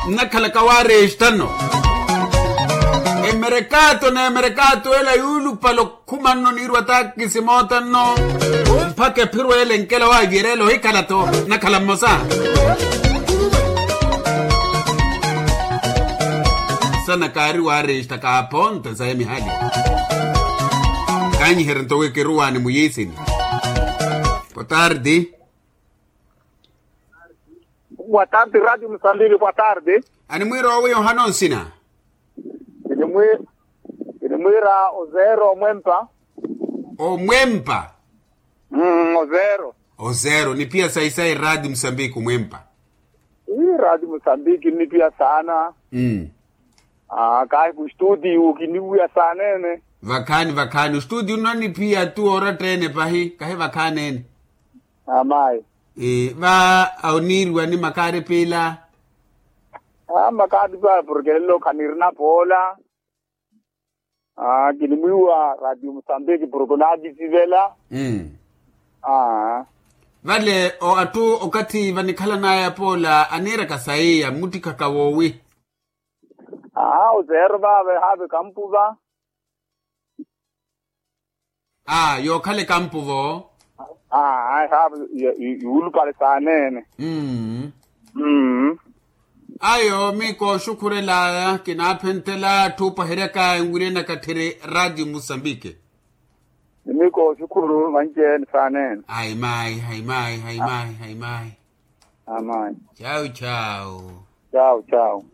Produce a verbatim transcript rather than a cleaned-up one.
Nnakhalaka waaresta nno. Emerekaato n'emerekaato ela yuulupale okhuma nno niirwa taakisi moota nno. Mpakha ephiro ela enkela waaviyereela ohikhala-tho. Nnakhala mmosa sana kaari waaresta kaaphonta saya mihali. Kaanyiherya nto wi kiruwaani muyiisini. Boa tarde. Boa tarde radio musambiki boa tarde. Animwiira owi ohana onsina? Kinimwiira ozero omwempa. Omwempa. Ozero. Ozero nipiya sayi sayi radio musambiki omwempa. Ii radio musambiki nipiya saana. Kahi ku studio kiniwiya saaneene. Vakhaani vakhaani ostudio nno nipiya tu oratta-ene pahi kahi vakhaani-ene. Amayi. Va oniiriwa ni makaari piila. Makaari piila porke lelo khanirina poola. Kinimwiiwa radio musambiki porke onaakisivela. Vale atthu okathi vanikhalan'aya poola aniiraka sayi ya mmuttikhaka woowi? Aa oseero vaave haave kampuva. Aa yookhala ekampuvo. Aa haave yuulupale saaneene. Ayo mii kooxukhurel'aya kinaaphenthela atthu opaheryaka enwirye nakatthiri radio musambiki. Mii kooxukhuru vanci-ene saaneene. Ayi maayi ayi maayi ayi maayi ayi maayi. Ayi maayi. Chawu chawu. Chawu chawu.